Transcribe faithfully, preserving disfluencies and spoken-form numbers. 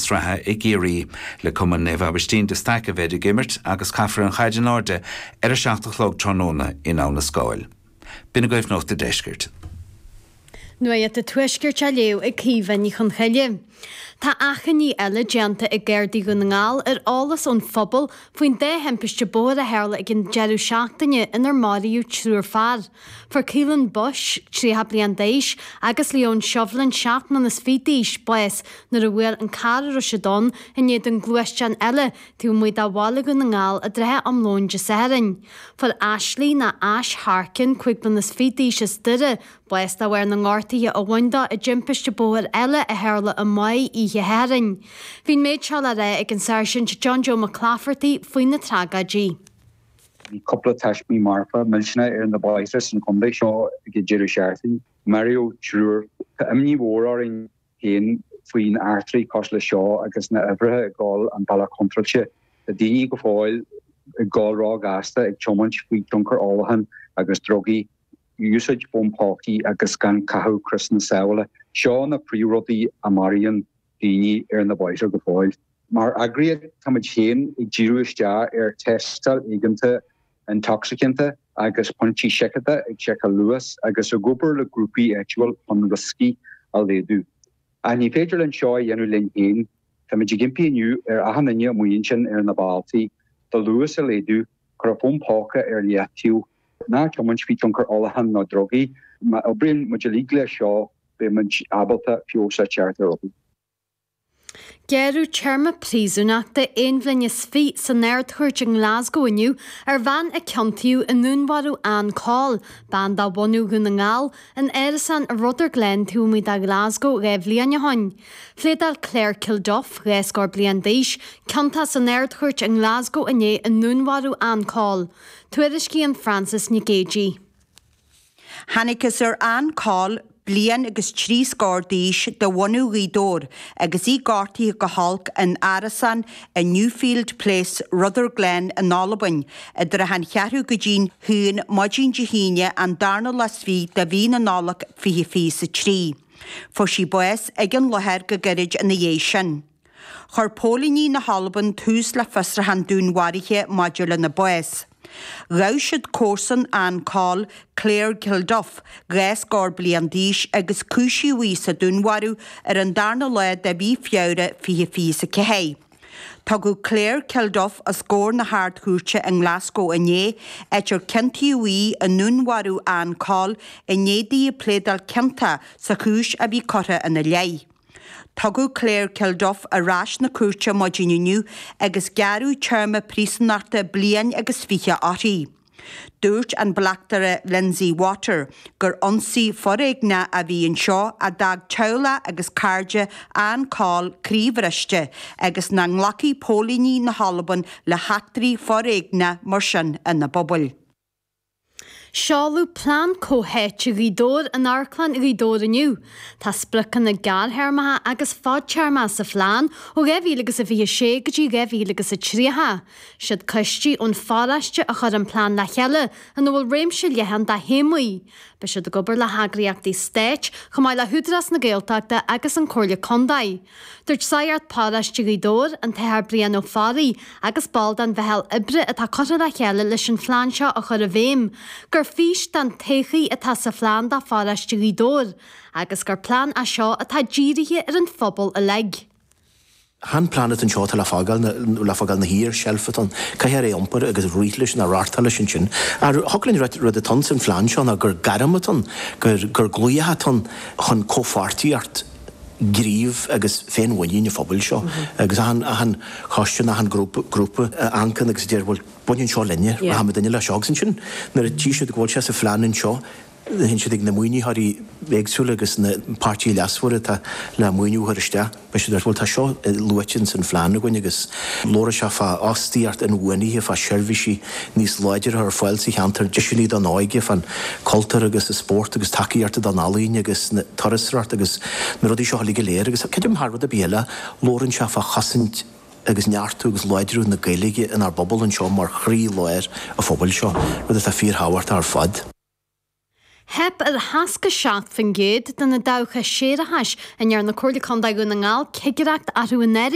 sraithe i gCiarraí le Cumann Naomh Aibhistín de Staic a bheidh ag imirt agus caithfear an chaid in airde ar a seacht a chlog tráthnóna in Abha na Scáil. B'in agaibh Nuacht an Deiscirt. Nuacht an Tuaiscirt á léamh ag Caoimhe Ní Chonchoille. Tá achainí eile déanta ag Gardaí Dhún na nGall ar eolas ón phobal faoin dá thimpiste bóthair a tharla ag an deireadh seachtaine inar maraíodh triúr fear. Fuair Keelan Bush tríocha bliain d'aois agus Leon Shovlin seacht mbliana is fiche d'aois bás nuair a bhuail an carr a raibh siad ann in éadan gluaisteán eile taobh amuigh de bhaile Dhún na nGall i dtrátha am lóin Dé Sathairn. Fuair Ashley ná Ash Harkin cúig bliana is fiche d'aois as Doire bás de bharr na ngortuithe a bhain dó i dtimpiste bóthair eile a tharla i Maigh oíche Shathairn. Bhí an méid seo le rá ag an Sáirsint John Joe McClafferty faoi na tragóidí. Bhí cúpla taismí marfa millteanach ar na bóithre san chontae seo ag an deireadh seachtaine. Maraíodh triúr Tá imní mhór orainn féin faoin eachtraí cosúil le seo agus na huimhreacha ag dul an bealach contráilte. Tá daoine go fóill ag dul róghasta ag tiomáint faoi tionchar ólacháin agus drugaí, úsáid fón pócaí agus gan caitheamh criosanna sábhála. Seo na príomhrudaí a maraíonn daoine ar na bóithre go fóill. Mar eagraíocht táimid féin ag díriú isteach ar tástáil éigeantach intoxicanta agus pointí seiceála ag seiceáil luas agus ag obair le grúpaí áitiúil chun rioscaí a laghdú. Ach ní féidir linn seo a dhéanamh linn féin, Táimid ag impí inniu ar achan duine amuigh ansin ar na bealtaí, do luas a laghdú, cuir an fón póca ar leataobh, ná tiomáint faoi tionchar ólacháin nó drugaí, má oibríonn muid uilig leis seo beidh muid ábalta feabhas a theacht ar rudaí. Gearradh téarma príosúnachta aon bhliain is fiche san Ard-Chúirt i nGlasgow inniu ar bhean a ciontaíodh i ndúnmharú Ann Cole, bean de bhunadh Dhún na nGall, in árasán i Rutherglen taobh amuigh de Glasgow dhá bhliain ó shin. Phléadáil Claire Kilduff, dhá scór bliain d'aois, ciontach san Ard-Chúirt i nGlasgow inné i ndúnmharú Ann Cole. Tuairiscíonn Francis Nic Géadaigh. Thángthas ar Ann Cole bliain agus trí scór d'aois de bhunadh Ghaoth Dobhair agus í gortaithe go holc in árasán i Newfield Place, Rutherglen in Albain, idir an cheathrú go dtí'n haon maidin Dé hAoine an darna lá is fiche de mhí na Nollag fiche fiche a trí. Fuair sí bás ag an láthair go gairid ina dhiaidh sin. Chuir póilíní na hAlban tús le fiosrúchán dúnmharaithe maidir lena bás. Ghabh siad comharsan Ann Cole, Claire Kilduff, dhá scór bliain d'aois agus cúisíodh í sa dúnmharú ar an darna lá de mhí Feabhra fiche fiche a ceathair. Tugadh Claire Kilduff os comhair na hArd-Chúirte i nGlasgow inné, áit ar ciontaíodh í i ndúnmharú Ann Cole i ndiaidh di pléadáil ciontach sa chúis a bhí curtha ina leith. Tugadh Claire Kilduff ar ais na cúirte maidin inniu agus gearradh téarma príosúnachta bliain agus fiche uirthi. Dúirt an bleachtaire Lindsay Water gur ionsaí foréigneach a bhí anseo a d'fhág teaghlach agus cairde Ann Cole croíbhriste agus nach nglacfaidh póilíní na hAlban le heachtraí foréigneach mar sin ina bpobail. Seoladh plean comhtháite Ghaoth Dobhair in Amharclann Ghaoth Dobhair inniu. Tá spriocanna gearrthéarmacha agus fadtéarmacha sa phlean ó dhá mhíle agus a fiche sé go dtí dhá mhíle agus a tríocha. Siad coistí ón pharóiste a chuir an plean le chéile ina bhfuil réimse leathan de théamaí. Beidh siad ag obair le heagraíochtaí stáit chomh maith le hÚdarás na Gaeltachta agus an Comhairle Contae. Dúirt Sagart Paróiste Ghaoth Dobhair, an tAthair Brian Ó Fearraigh agus ball den mheitheal oibre atá curtha le chéile leis an phlean seo a chur i bhfeidhm, gur fís don todhchaí atá sa phlean do pharóiste Ghaoth Dobhair, agus gur plean é seo atá dírithe ar an phobal uilig. Chan plean atá anseo atá le fágáil le fágáil na thiar seilf atá ann, caithfear é iompar agus rith leis nó reáchtáil leis ansin. Thig linn rud atá ann san phlean seo ná gur gairm atá ann, gur gur glaoch atá ann chun comhpháirtíocht gníomh agus féinmhuinín an phobail seo agus achan achan choiste achan grúpa grúpa a amharcann agus a deir bhuel baineann seo linne, rachaimid duine le seo agus ansin nuair a tchí siad go bhfuil sé sa phlean anseo théann siad ag na maoinitheoirí éagsúla agus na páirtithe leasmhara atá le maoiniú a chur isteach. Beidh siad bhuel tá seo luaite san phlean againn agus labhróidh sé fá fhostaíocht inbhuanaithe fá seirbhísí níos láidre ar fáil sa cheantar, deiseanna don óige fán cultúr agus an spórt agus tacaíocht don ealaín agus na turasóireacht agus na rudaí seo uilig go léir agus creidim thar rud ar bith eile labhrann sé fá chosaint agus neartú agus láidriú na Gaeilge inár bpobal anseo mar chroílár an phobail seo, rud atá fíorthábhachtach ar fad. Theip ar seasca seacht faoin gcéad de na dabhcha séarachais a ndearna Comhairle Contae Dhún na nGall cigireacht orthu anuraidh.